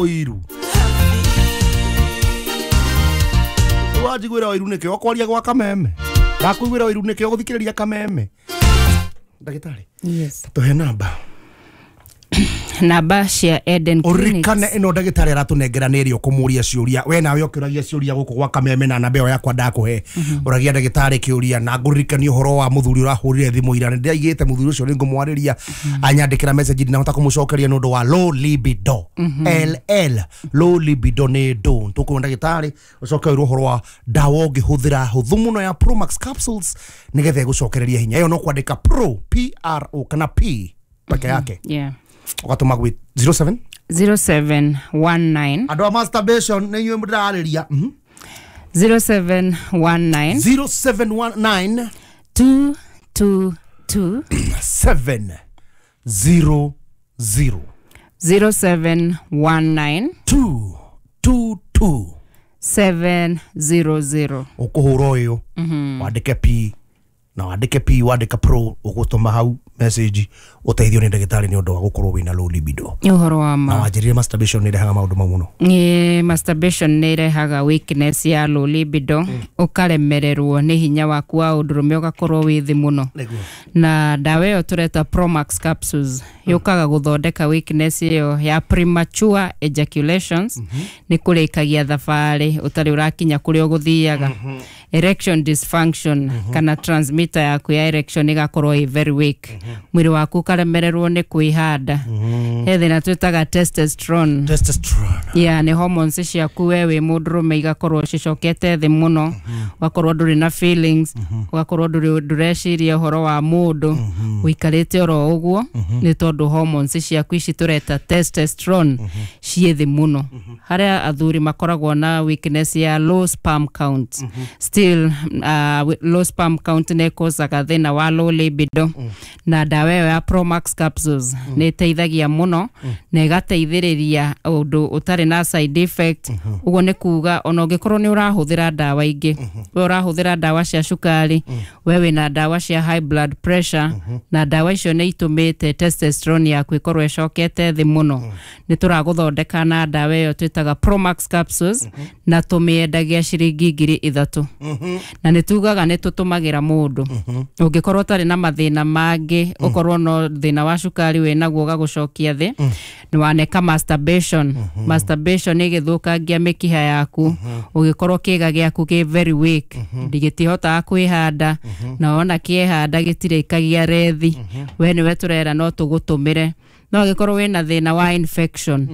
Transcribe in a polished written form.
Ũiru wanjiguĩra ũiru nĩkĩ ũkwaria gwa Kameme? Ndakũiguĩra ũiru nĩkĩ ũgũthikĩrĩria Kameme? Ndagĩtarĩ, Yes. tũhe namba. Namba cia Eden Ũririkane Clinics. Ĩno ndagĩtarĩ aratũnengera nĩ ĩrĩa ũkũmũria ciũria. We nawe ũkĩũragia ciũria gũkũ gwa Kameme na namba ĩyo yakwa ndakũhe, ũragia ndagĩtarĩ kĩũria. Na ngũririkanie ũhoro wa mũthuri ũrahũrire thimũ ira. Nĩ ndĩraigĩte mũthuri ũcio nĩ ngũmwarĩria, anyandĩkĩra message, ndinahota kũmũcokeria nĩ ũndũ wa low libido, LL, low libido nĩ ndũ. Tũkũona ndagĩtarĩ, ũcoke wĩrwo ũhoro wa ndawa ũngĩhũthĩra hũthũ mũno ya Promax capsules nĩgetha ĩgũcokereria hinya. Ĩyo no kwandĩka pro, PRO kana P peke yake, ũgatũma gwĩ 07 0719. Andũ a masturbation, nĩ inyuĩ ndĩrarĩria. 0719. 0719. 222. 7 0 0. 0719. 2 2 2. 700. Ũkũhũra ũyũ, wandĩke P na wandĩke P, wandĩka pro, ũgũtũma hau message, ũteithio nĩ ndagĩtarĩ nĩ ũndũ wa gũkorwo wĩna low libido. Nĩ ũhoro wa Na ma. Wanjĩrire masturbation nĩ ĩrehaga maũndũ mau mũno. Ĩ, masturbation nĩ ĩrehaga weakness ya low libido, ũkaremererwo nĩ hinya waku wa ũndũrũme, ũgakorwo wĩ thĩ mũno. Nĩguo. Na ndawa ĩyo tũreta Promax capsules yũkaga gũthondeka weakness ĩyo ya premature ejaculations, nĩ kũrĩkagia thabarĩ ũtarĩ ũrakinya kũrĩa ũgũthiaga, erection dysfunction, kana transmitter yaku ya erection ĩgakorwo ĩ very weak, mwĩrĩ waku ũkaremererwo nĩ kwĩhanda. He thĩna twĩtaga testosterone. Testosterone. Yeah, nĩ hormones ciaku we wĩ mũndũrũme igakorwo cicokete thĩ mũno, ũgakorwo ndũrĩ na feelings, ũgakorwo ndũrĩ ndũreciria ũhoro wa mũndũ, ũikarĩte oro ũguo, nĩ tondũ hormones ciaku ici tũreta testosterone ciĩ thĩ mũno. Harĩa athuri makoragwo na weakness ya low sperm count. Still low sperm count nĩ ĩkosaga thĩna wa low libido, na ndawa ĩyo ya Promax capsules nĩ ĩteithagia mũno na ĩgateithĩrĩria ũndũ ũtarĩ na side effect. Ũguo nĩ kuga ona ũngĩkorwo nĩ ũrahũthĩra ndawa ingĩ, we ũrahũthĩra ndawa cia cukari, we wĩna ndawa cia high blood pressure, na ndawa icio nĩ itũmĩte testosterone yaku ĩkorwo ĩcokete thĩ mũno, nĩ tũragũthondeka na ndawa ĩyo twĩtaga Promax capsules, na tũmĩendagia ciringi 3,000. Na nĩ tugaga nĩ tũtũmagĩra mũndũ ũngĩkorwo ũtarĩ na mathĩna mangĩ, ũkorwo no thĩna wa cukari wĩ naguo ũgagũcokia thĩ, nĩ waneka masturbation. Masturbation ĩgĩthũkangia mĩkiha yaku, ũgĩkorwo kĩga gĩaku kĩ very weak, gĩtihotaga kwĩhanda, na wona kĩehanda gĩtirĩkagia rethi, we nĩwe tũrera no tũgũtũmĩre. No angĩkorwo wĩna thĩna wa infection.